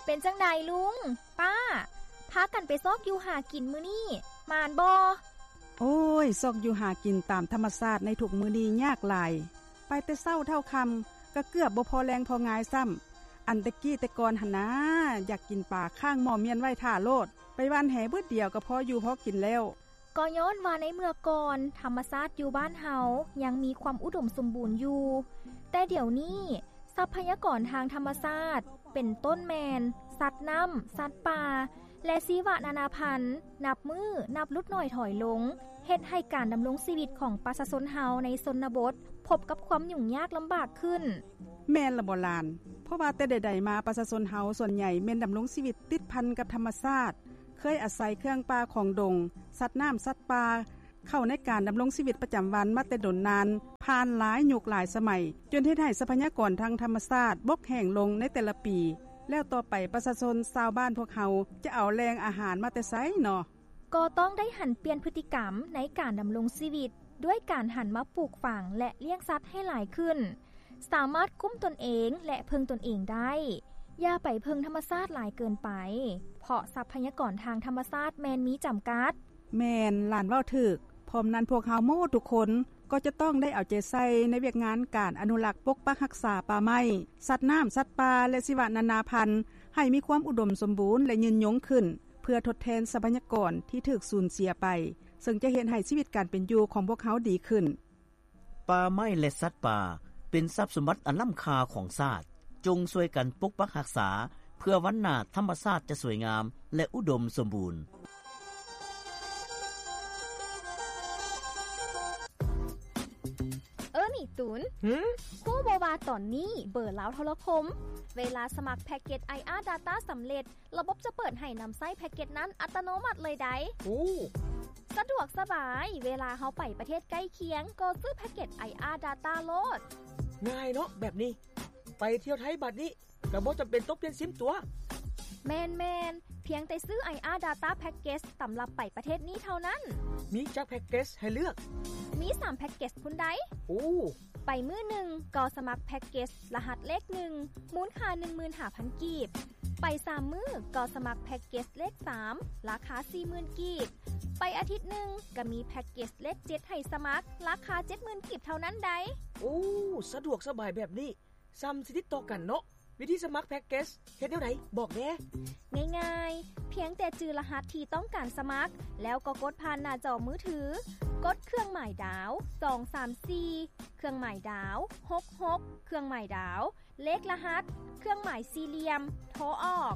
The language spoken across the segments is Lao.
ເປັນຈັ່ງໃດລຸງ ປ້າ ພາກັນໄປຊອກຢູ່ຫາກິນມື້ນີ້ ໝານບໍ່? ໂອ້ຍ ຊອກຢູ່ຫາກິນຕາມທຳມະຊາດໃນທຸກມື້ນີ້ຍາກຫຼາຍ. ໄປແຕ່ເຊົ້າເທົ່າຄ່ຳ ກໍເກືອບບໍ່ພໍແລງພໍງາຍຊ້ຳ. ອັນແຕ່ກີ້ແຕ່ກ່ອນຫັ້ນນາ ຢາກກິນປາຄ້າງໝໍ້ມ້ຽນໄວ້ຖ້າໂລດ, ໄປຫວ່ານແຫບຶດດຽວກໍພໍຢູ່ພໍກິນແລ້ວ. ກໍຍ້ອນວ່າໃນເມື່ອກ່ອນ ທຳມະຊາດຢູ່ບ້ານເຮົາຍັງມີຄວາມອຸດົມສົມບູນຢູ່, ແຕ່ດຽວນີ້ ຊັບພະຍາກອນທາງທຳມະຊາດ ເປັນຕົ້ນແມ່ນ ສັດນ້ຳ, ສັດປ່າ ແລະ ຊີວະນານາພັນ ນັບມື້ນັບຫຼຸດໜ້ອຍຖອຍລົງ, ເຮັດໃຫ້ການດຳລົງຊີວິດຂອງປະຊາຊົນເຮົາໃນຊົນນະບົດ ພົບກັບຄວາມຫຍຸ້ງຍາກລຳບາກຂຶ້ນ. ແມ່ນລະບໍ່ຫຼານ? ເພາະວ່າແຕ່ໃດໆມາ ປະຊາຊົນເຮົາສ່ວນໃຫຍ່ແມ່ນດຳລົງຊີວິດຕິດພັນກັບທຳມະຊາດ, ເຄີຍອາໄສເຄື່ອງປ່າຂອງດົງ, ສັດນ້ຳ, ສັດປ່າ ເຂົ້າໃນການດຳລົງຊີວິດປະຈຳວັນມາແຕ່ດົນນານ, ຜ່ານຫຼາຍຍຸກຫຼາຍສະໄໝ, ຈົນເຮັດໃຫ້ຊັບພະຍາກອນທາງທຳມະຊາດບົກແຫ້ງລົງໃນແຕ່ລະປີ, ແລ້ວຕໍ່ໄປປະຊາຊົນຊາວບ້ານພວກເຮົາຈະເອົາແຫຼ່ງອາຫານມາແຕ່ໃສເນາະ? ກໍຕ້ອງໄດ້ຫັນປ່ຽນພຶດຕິກຳໃນການດຳລົງຊີວິດ ດ້ວຍການຫັນມາປູກຝັງ ແລະ ລ້ຽງສັດໃຫ້ຫຼາຍຂຶ້ນ, ສາມາດກຸ້ມຕົນເອງ ແລະ ເພິ່ງຕົນເອງໄດ້. ຢ່າໄປເພິ່ງທຳມະຊາດຫຼາຍເກີນໄປ, ເພາະຊັບພະຍາກອນທາງທຳມະຊາດແມ່ນມີຈຳກັດ. ແມ່ນ, ຫຼານເວົ້າຖືກ. ພ້ອມນັ້ນພວກເຮົາໝົດທຸກຄົນກໍຈະຕ້ອງໄດ້ເອົາໃຈໃສ່ໃນວຽກງານການອະນຸລັກປົກປັກຮັກສາປ່າໄມ້, ສັດນ້ຳ, ສັດປ່າ ແລະ ຊີວະນານາພັນ ໃຫ້ມີຄວາມອຸດົມສົມບູນ ແລະ ຍືນຍົງຂຶ້ນ, ເພື່ອທົດແທນຊັບພະຍາກອນທີ່ຖືກສູນເສຍໄປ, ເຊິ່ງຈະເຮັດໃຫ້ຊີວິດການເປັນຢູ່ຂອງພວກເຮົາດີຂຶ້ນ. ປ່າໄມ້ ແລະ ສັດປ່າ ເປັນຊັບສົມບັດອັນລ້ຳຄ່າຂອງຊາດ. ຈົ່ງຊ່ວຍກັນປົກປັກຮັກສາ ເພື່ອວັນໜ້າທຳມະຊາດຈະສວຍງາມ ແລະ ອຸດົມສົມບູນ. ເອີ ນີ້ຕູນ, ຫື? ຮູ້ບໍ່ວ່າຕອນນີ້ເບີລາວໂທລະຄົມ ເວລາສະໝັກແພັກເກັດ ໄອອາດາຕ້າ ສຳເລັດ, ລະບົບຈະເປີດໃຫ້ນຳໃຊ້ແພັກເກັດນັ້ນອັດຕະໂນມັດເລີຍໃດ໋. ໂອ້ ສະດວກສະບາຍ, ເວລາເຮົາໄປປະເທດໃກ້ຄຽງ ກໍຊື້ແພັກເກັດ ໄອອາດາຕ້າ ໂລດ. ງ່າຍເນາະແບບນີ້, ໄປທ່ຽວໄທບາດນີ້ ກໍບໍ່ຈຳເປັນຕ້ອງປ່ຽນຊິມຕົວະ. ແມ່ນໆ, ພຽງແຕ່ຊື້ ໄອອາດາຕ້າ ແພັກເກັດ ສຳລັບໄປປະເທດນີ້ເທົ່ານັ້ນ. ມີຈັກແພັກເກັດໃຫ້ເລືອກ? ມີສາມແພັກເກັດພຸ້ນໃດ໋. ໂອ້ ໄປມື້ໜຶ່ງກໍສະໝັກແພັກເກັດລະຫັດເລກໜຶ່ງ ມູນຄ່າໜຶ່ງໝື່ນຫ້າພັນກີບ, ໄປສາມມື້ກໍສະໝັກແພັກເກັດເລກສາມ ລາຄາສີ່ໝື່ນກີບ, ໄປອາທິດໜຶ່ງກໍມີແພັກເກັດເລກເຈັດໃຫ້ສະໝັກ ລາຄາເຈັດໝື່ນກີບເທົ່ານັ້ນໃດ໋. ໂອ້ ສະດວກສະບາຍແບບນີ້ ຊ່ຳຊິຕິດຕໍ່ກັນເນາະ. ວິທີສະໝັກແພັກເກັດເຮັດແນວໃດ? ບອກແດ່. ງ່າຍໆ, ພຽງແຕ່ຈື່ລະຫັດທີ່ຕ້ອງການສະໝັກ ແລ້ວກໍກົດຜ່ານໜ້າຈໍມືຖື, ກົດເຄື່ອງໝາຍດາວ ສອງສາມສີ່ ເຄື່ອງໝາຍດາວ ຫົກຫົກ ເຄື່ອງໝາຍດາວ ເລກລະຫັດ ເຄື່ອງໝາຍສີ່ຫຼ່ຽມ ໂທອອກ.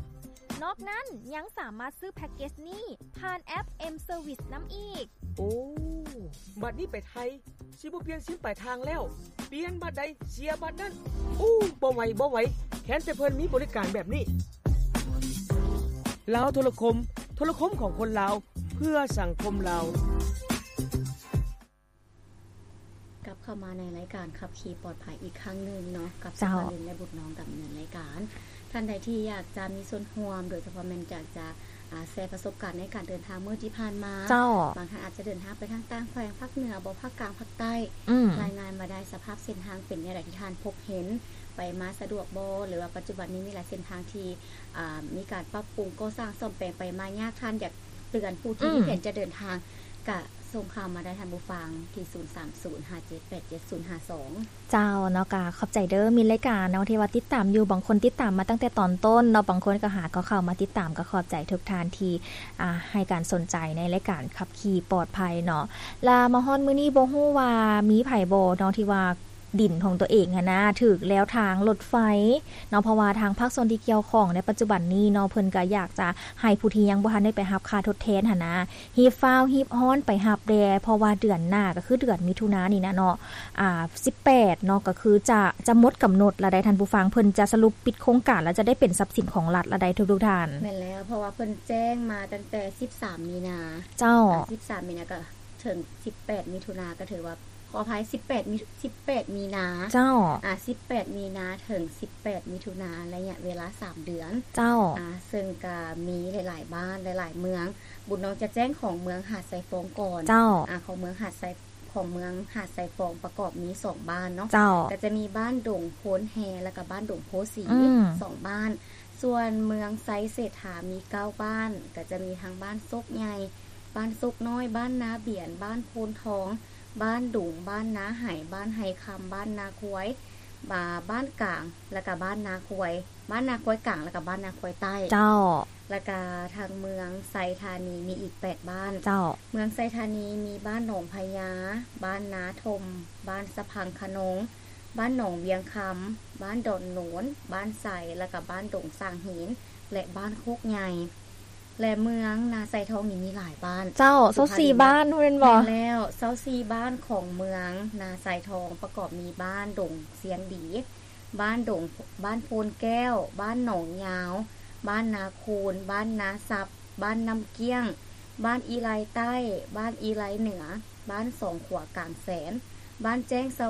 ນອກນັ້ນຍັງສາມາດຊື້ແພັກເກັດນີ້ຜ່ານແອັບ M-Service ນຳອີກ. ໂອ້ ບາດນີ້ໄປໄທ ຊິບໍ່ປ່ຽນຊິມປາຍທາງແລ້ວ, ປ່ຽນບາດໃດເສຍບາດນັ້ນ. ໂອ້ ບໍ່ໄຫວ ບໍ່ໄຫວ, ແຄ້ນແຕ່ເພິ່ນມີບໍລິການແບບນີ້. ລາວໂທລະຄົມ, ໂທລະຄົມຂອງຄົນລາວ ເພື່ອສັງຄົມລາວ. ກັບເຂົ້າມາໃນລາຍການຂັບຂີ່ປອດໄພອີກຄັ້ງໜຶ່ງເນາະ, ກັບ ເຈົ້າ ສຸພາລິນ ແລະ ບຸດນ້ອງດຳເນີນລາຍການ. ທ່ານໃດທີ່ຢາກຈະມີສ່ວນຮ່ວມ, ໂດຍສະເພາະແມ່ນຢາກຈະ ອາ ແຊປະສົບການໃນການເດີນທາງມື້ທີ່ຜ່ານມາ. ເຈົ້າ. ບາງທ່ານອາດຈະເດີນທາງໄປທາງຕ່າງແຂວງ, ພາກເໜືອບໍ, ພາກກາງ, ພາກໃຕ້. ອືມ. ລາຍງານມາໄດ້, ສະພາບເສັ້ນທາງເປັນແນວໃດທີ່ທ່ານພົບເຫັນ, ໄປມາສະດວກບໍ່, ຫຼືວ່າປັດຈຸບັນນີ້ມີຫຼາຍເສັ້ນທາງທີ່ ອາ ມີການປັບປຸງກໍ່ສ້າງສ້ອມແປງໄປມາຍາກ, ທ່ານຢາກເຕືອນຜູ້ທີ່ ອືມ ມີແຜນຈະເດີນທາງ ກະ ສົ່ງຂ່າວມາໄດ້ທ່ານຜູ້ຟັງທີ່ ສູນສາມສູນ ຫ້າເຈັດແປດເຈັດ ສູນຫ້າສອງ. ເຈົ້າເນາະ, ກະຂອບໃຈເດີມິດລາຍການເນາະ ທີ່ວ່າຕິດຕາມຢູ່, ບາງຄົນຕິດຕາມມາຕັ້ງແຕ່ຕອນຕົ້ນເນາະ, ບາງຄົນກໍຫາກໍເຂົ້າມາຕິດຕາມ, ກໍຂອບໃຈທຸກທ່ານທີ່ ອ່າ ໃຫ້ການສົນໃຈໃນລາຍການຂັບຂີ່ປອດໄພເນາະ. ລະມາຮອດມື້ນີ້ບໍ່ຮູ້ວ່າມີໃຜບໍ່ເນາະ ທີ່ວ່າດິນຂອງຕົວເອງຫັ້ນນະ ຖືກແລ້ວທາງລົດໄຟເນາະ, ເພາະວ່າທາງພາກສ່ວນທີ່ກ່ຽວຂ້ອງໃນປັດຈຸບັນນີ້ເນາະ ເພິ່ນກໍຢາກຈະໃຫ້ຜູ້ທີ່ຍັງບໍ່ທັນໄດ້ໄປຮັບຄ່າທົດແທນຫັ້ນນະ ຮີບຟ້າວຮີບຮ້ອນໄປຮັບແດ່, ເພາະວ່າເດືອນໜ້າກໍຄືເດືອນມິຖຸນານີ້ນະເນາະ ອ່າ ສິບແປດເນາະ ກໍຄືຈະ ຈະໝົດກຳນົດລະໄດ໋ທ່ານຜູ້ຟັງ, ເພິ່ນຈະສະຫຼຸບປິດໂຄງການ ແລ້ວຈະໄດ້ເປັນຊັບສິນຂອງລັດລະໄດ໋ທຸກໆທ່ານ. ແມ່ນແລ້ວ, ເພາະວ່າເພິ່ນແຈ້ງມາຕັ້ງແຕ່ ສິບສາມ ມີນາ. ເຈົ້າ. ອ່າ ສິບສາມ ມີນາ ກໍເຖິງ ສິບແປດ ມິຖຸນາ, ກໍຖືວ່າ ຂໍອະໄພ ສິບແປດ ມີ ສິບແປດ ມີນາ. ເຈົ້າ. ອ່າ ສິບແປດ ມີນາ ເຖິງ ສິບແປດ ມິຖຸນາ, ໄລຍະເວລາ ສາມ ເດືອນ. ເຈົ້າ. ອ່າ ເຊິ່ງກໍມີຫຼາຍໆບ້ານ ຫຼາຍໆເມືອງ. ບຸນນ້ອງຈະແຈ້ງຂອງເມືອງຫາດຊາຍຟອງກ່ອນ. ເຈົ້າ. ອ່າ ຂອງເມືອງຫາດຊາຍ ຂອງເມືອງຫາດຊາຍຟອງປະກອບມີສອງບ້ານເນາະ. ເຈົ້າ. ກໍຈະມີບ້ານດົງໂພນແຮ ແລ້ວກໍບ້ານດົງໂພສີ ອືມ ສອງບ້ານ. ສ່ວນເມືອງໄຊເສດຖາມີເກົ້າບ້ານ ກໍຈະມີທັງບ້ານໂຊກໃຫຍ່, ບ້ານໂຊກນ້ອຍ, ບ້ານນາບຽນ, ບ້ານໂພນທອງ, ບ້ານດຸງ, ບ້ານນາໄຫ, ບ້ານໄຮຄຳ, ບ້ານນາຄວາຍ, ບາ ບ້ານກາງ ແລ້ວກະບ້ານນາຄວາຍ, ບ້ານນາຄວາຍກາງ ແລ້ວກະບ້ານນາຄວາຍໃຕ້. ເຈົ້າ. ແລ້ວກະທາງເມືອງໄຊທານີມີອີກແປດບ້ານ. ເຈົ້າ. ເມືອງໄຊທານີມີບ້ານໜອງພະຍາ, ບ້ານນາຖົມ, ບ້ານສະພັງຂະນົງ, ບ້ານໜອງວຽງຄຳ, ບ້ານດອນໂນນ, ບ້ານໄຊ ແລ້ວກະບ້ານດົງສາງຫີນ ແລະ ບ້ານໂຄກໃຫຍ່. ແລະ ເມືອງນາຊາຍທອງນີ້ມີຫຼາຍບ້ານ. ເຈົ້າ ຊາວສີ່ບ້ານແມ່ນບໍ່? ແມ່ນແລ້ວ ຊາວສີ່ບ້ານຂອງເມືອງນາຊາຍທອງປະກອບມີບ້ານດົງຊຽງດີ, ບ້ານດົງ ບ້ານໂພນແກ້ວ, ບ້ານໜອງຍາວ, ບ້ານນາຄູນ, ບ້ານນາຊັບ, ບ້ານນ້ຳກ້ຽງ, ບ້ານອີ່ໄລໃຕ້, ບ້ານອີ່ໄລເໜືອ, ບ້ານສອງຂົວກາງແສນ, ບ້ານແຈ້ງສະ